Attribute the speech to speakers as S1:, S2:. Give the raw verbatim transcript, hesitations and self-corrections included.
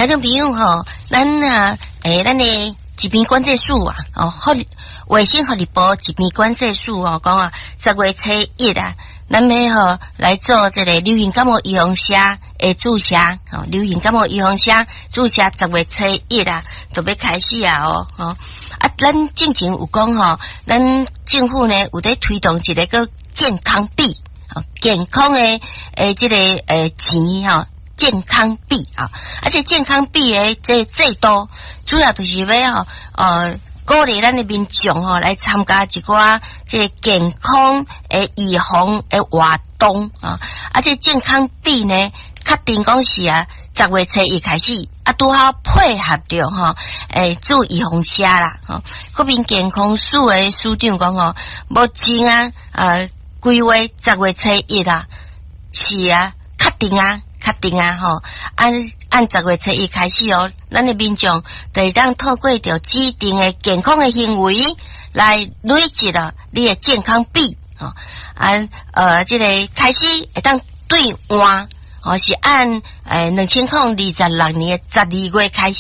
S1: 聽眾朋友吼，咱啊，欸，咱的疾病管制署啊，哦，福衛生福利部疾病管制署哦，講啊，十月初一啊，咱欲吼來做這个流行感冒預防射的注射，吼，流行感冒預防射注射十月初一啊，就欲開始啊，哦，吼，啊，咱進前有講吼，咱政府呢有咧推動一个叫健康幣，健康的欸這个欸錢吼。健康幣啊，而且健康幣的這制度，主要就是欲吼，呃，鼓勵咱的民眾吼來參加一寡這个健康的預防的活動啊，啊，這健康幣呢，確定講是啊，十月初一開始，啊，拄好配合著吼，欸，注預防射啦，吼，國民健康署的署長講吼，目前啊，呃，規劃十月初一啊，是啊，確定啊。確定啊吼，按按十月初一開始哦，咱的民眾就會當透過著指定的健康的行為來累積了你的健康幣吼，按呃這个開始會當兌換，吼是按欸兩千零二十六年的十二月開始。